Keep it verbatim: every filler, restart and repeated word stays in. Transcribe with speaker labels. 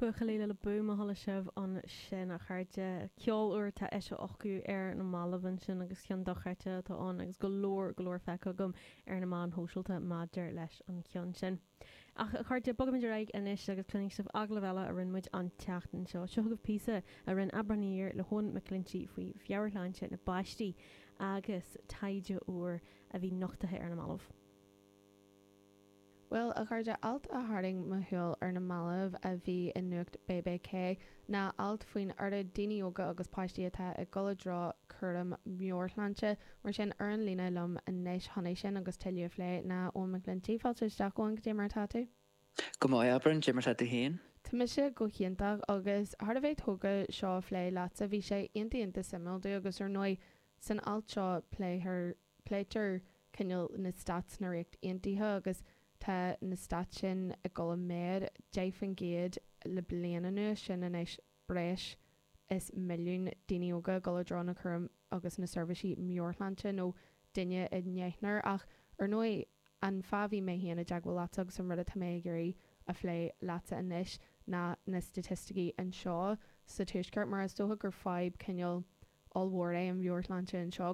Speaker 1: Buachaillí le Boom a chuala sibh ansin a chairde ceol úr atá eisithe acu ar na mallaibh ansin agus ceann dochreidte atá ann agus go leor go leor feicthe agam ar na meáin shóisialta maidir leis an cheann sin. Ach a chairde bogaimid ar aghaidh anois agus cluinfidh sibh agallamh eile a rinne muid an tseachtain seo. Seo chugaibh píosa a rinne Abraham le hEoin McClinchy faoi mheabhairshláinte na bpáistí agus taighde úr a bhí nochtaithe ar na mallaibh.
Speaker 2: Well a chairde alt a tharraing mo shúil ar na mallaibh a bhí i nuacht BBK ná alt faoin oiread daoine óga agus páistí atá ag dul i dtreo cúram meabhairshláinte mar sin ar an líne liom anois chun é sin agus tuilleadh a phlé ná Eoin McClinchy fáilte isteach Eoin cad é mar atá tú?
Speaker 3: Go maith Aibreán cad é mar atá tú féin?
Speaker 2: Tá mise go hiontach agus thar a bheith tógtha seo a phlé leatsa bhí sé iontach iontach suimiúil domh agus ar ndóigh san alt seo pléitear pléitear cineál na stats na Ríocht Aontaithe agus tá na stats sin ag dul i méad deich faoin gcéad le bliain anuas sin anois breis is milliún daoine óga ag dul i dtreo na cúram agus na seirbhísí meabhairshláinte nó duine i ndeichniúr ach ar ndóigh an fáth bhí mé féin i dteagmháil leatsa agus an rud atá mé ag iarraidh a phlé leatsa anois ná na staitisticí anseo sa tuaisceart mar is dócha gur fadhb cineál ollmhór é an mheabhairshláinte anseo